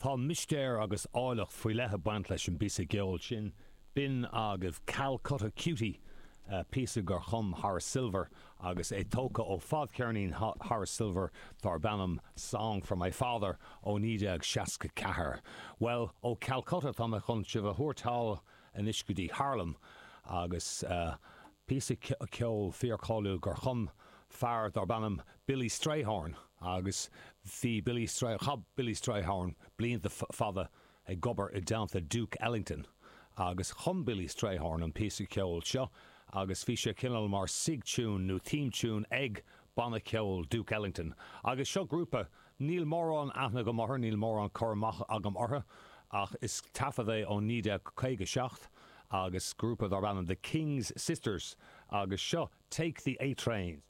Tá mistéir agus áilleacht faoi leith ag baint leis an bpíosa ceoil sin. B'in agaibh Calcutta Cutie, píosa gur chum Horace Silver agus é tógtha ó fadcheirnín Horace Silver darb ainm Song for My Father ó 1964. Bhuel, ó Calcutta tá mé chun sibh a thabhairt thall anois go dtí Harlem agus píosa ceoil fíorcháiliúil gur chum fear darb ainm Billy Strayhorn agus bhí Billy Stray, chaith Billy Strayhorn blianta fada ag obair i dteannta Duke Ellington agus chum Billy Strayhorn an píosa ceoil seo agus bhí sé cineál mar sig tune nó theme tune ag banna ceoil Duke Ellington agus seo grúpa, níl mórán aithne agam orthu, níl mórán cur amach agam orthu ach is taifead é ó 1957 agus grúpa darb ainm The King's Sisters agus seo Take the A Train.